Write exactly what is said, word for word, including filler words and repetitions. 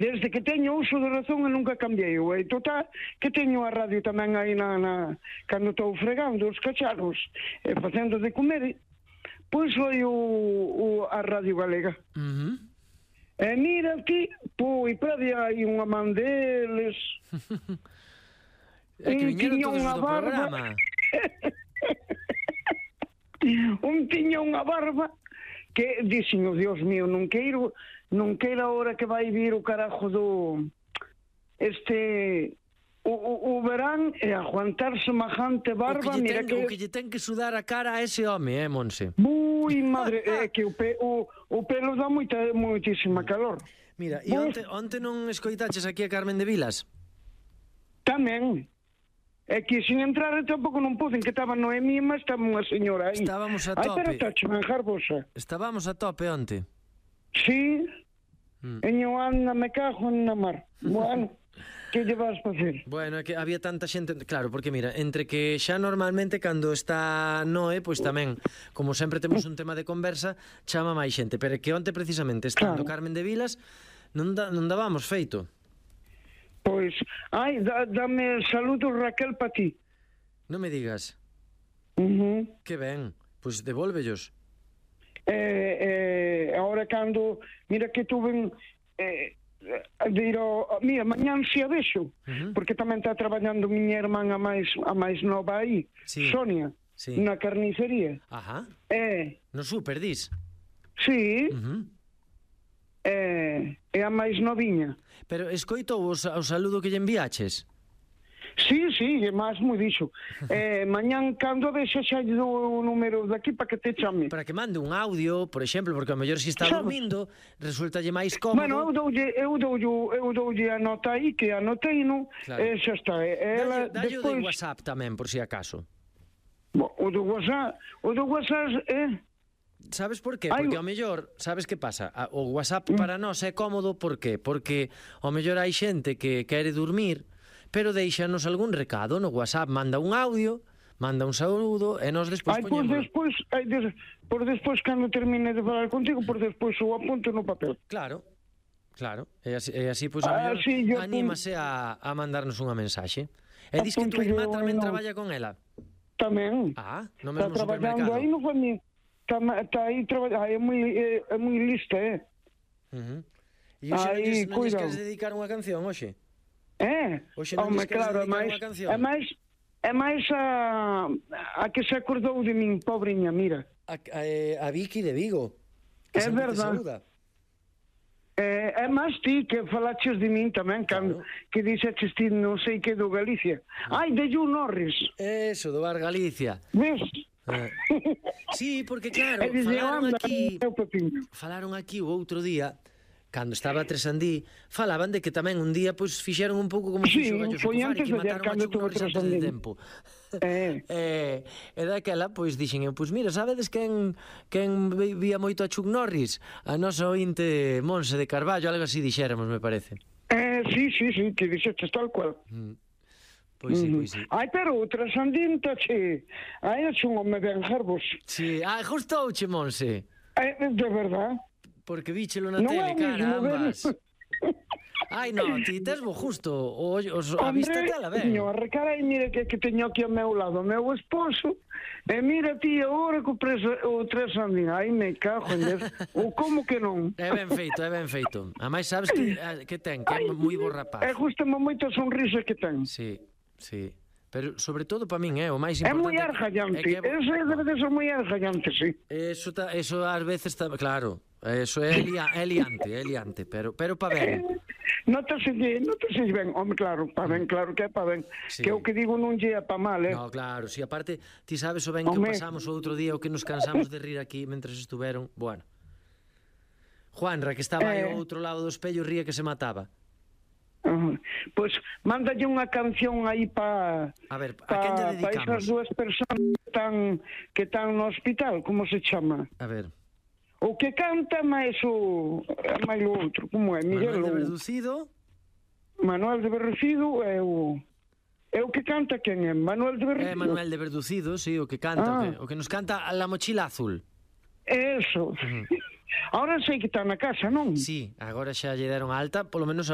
desde que teño uso de razón e nunca cambiei. E total, que teño a radio tamén aí na, na cando estou fregando os cacharros e facendo de comer, pois foi o, o, a Radio Galega. Uh-huh. E mira aquí, pois, para aí unha man deles. É que viñeron todos unha do programa. Un tiña unha barba que dixen, oh, Dios mío, non queiro, non queira ahora que vai vir o carajo do este o, o, o verán e aguantar semejante barba. O que, mira ten, que o que lle ten que sudar a cara a ese home, eh, Monse? Ui, madre, é que o, pe, o, o pelo dá moita, moitísima calor. Mira, e onte, onte non escoitaches aquí a Carmen de Vilas? Tamén. É que sin entrar tampouco non poden, que estaba Noemí, mas estaba unha señora aí. Estábamos a Ai, tope. pero tacho, manjar vosa. Estábamos a tope onte. Sí. Mm. Eño anda, me cajo na mar. Bueno, que lle vas facer? Bueno, é que había tanta xente... Claro, porque mira, entre que xa normalmente cando está Noé, pois tamén, como sempre temos un tema de conversa, chama máis xente. Pero é que onte precisamente, estando Claro. Carmen de Vilas, non, da, non dábamos feito. Pois, ai, dá, dame saludos, Raquel, pa ti. Non me digas. Uh-huh. Que ben, pois devólvellos. Eh, eh, ahora cando, mira que tuve eh, de ir ao, mira, mañán se a vexo, Uh-huh. porque tamén está traballando miña irmán a máis a máis nova aí, Sí. Sonia, Sí. na carnicería. Ajá. Eh, No super, dis. sí, Uh-huh. eh, é a máis noviña. Pero escoitou o, o saludo que lle enviaches? Sí, sí, é máis moi dixo. Eh, mañán cando vexa xa lle dou o número daqui para que te chame. Para que mande un audio, por exemplo, porque ao mellor se está Sabes? dormindo, resultalle máis cómodo. Bueno, eu doulle, eu doulle, eu doulle a nota aí que anotei, non? Claro. E xa está. E ela Dalle, dalle o despois de WhatsApp tamén, por si acaso. Bo, o do WhatsApp, o do WhatsApp é Sabes por qué? Ai, Porque o- ao mellor, sabes que pasa? A- O WhatsApp para nós é cómodo, por qué? Porque ao mellor hai xente que quere dormir, pero deixanos algún recado no WhatsApp, manda un audio, manda un saúdo e nós despois Ai, pois poñémolo. despois, ai, des, por despois cando termine de falar contigo, por despois o apunto no papel. Claro. Claro, e así, e así pois, ao Ah, mellor sí, yo anímase a, a mandarnos unha mensaxe. E dis que tu Apunto irmá yo, tamén no. traballa con ela. Tamén. Ah, no Está mesmo traballando supermercado. aí no fami. Está, está aí traballando, é moi é, é moi lista, eh. Uh-huh. E hoxe non Aí, lles, non lles cuidado. queres dedicar unha canción, hoxe? Eh? Hoxe non Home, lles queres claro, é dedicar máis, unha canción? é máis é máis a a que se acordou de min, pobriña, mira. A, a, a Vicky de Vigo. Que É sempre te verdad. saúda. Eh, é máis ti que falaches de min tamén, cando, Claro. que dixeches ti non sei que do Galicia. Ai, de Ju Norris. Eso, do Bar Galicia. Ves? Eh. Sí, porque claro, E dixe, falaron anda, aquí, meu pepiño. falaron aquí o outro día, cando estaba a Tresandí, falaban de que tamén un día pois fixeron un pouco como Sí, fixo o Gallo foi Socofari, antes que de ayer, mataron a cando Chuck tuve Norris antes de Tresandí. tempo. Eh. e, e daquela, pois, dixen eu, pois mira, sabedes quen, quen vi- vía moito a Chuck Norris? A nosa ointe Monse de Carballo, algo así dixéramos, me parece. Eh, sí, sí, sí, que dixeches tal cual. Pois sí, pois sí. Ai, pero outra sandinta, che. Ai, é un home ben jarvos. Sí, ah, gustouche, Monse. Eh, de verdad. Porque víchelo na Non é tele, o mismo, carambas. ben. Ai, no, ti tes bo justo. O, os, a vista te la ben. señor, carai, mire que, que teño aquí ao meu lado o meu esposo, e mira ti agora co preso, o tres andín. Ai, me cago en Deus. Ou como que non? É ben feito, é ben feito. A máis sabes que, eh, que ten, que é moi bo rapaz. É justamente moito a sonrisa que ten. Sí, sí. Pero sobre todo para min, é o máis É importante. moi argallante. é que- Eso debe de ser moi argallante, sí. Eso, ta, eso ás veces está, claro, eso é, lia, é liante, é liante, pero pero pa ben. Notase, notase ben, home, claro, pa ben, claro que é pa ben. Sí. Que o que digo non lle é pa mal, eh? No, claro, si aparte, ti sabes o ben que o Home. pasamos o outro día, o que nos cansamos de rir aquí mentres estuveron, bueno. Juanra, que estaba aí Eh. ao outro lado do espello, ría que se mataba. Uh, pois mándalle unha canción aí pa A ver, a pa, quen lle pa dedicamos? esas dúas persoas que están, que están no hospital, como se chama? A ver, O que canta máis o máis o outro, como é? Miguel Manuel de ou Verducido. Manuel de Berrecido é o é o que canta quen é? Manuel de Berrecido. É Manuel de Verducido, sí, o que canta, Ah. o, que, o que nos canta a La Mochila Azul. Eso. Ahora sei que está na casa, non? Sí, agora xa lle deron alta, polo menos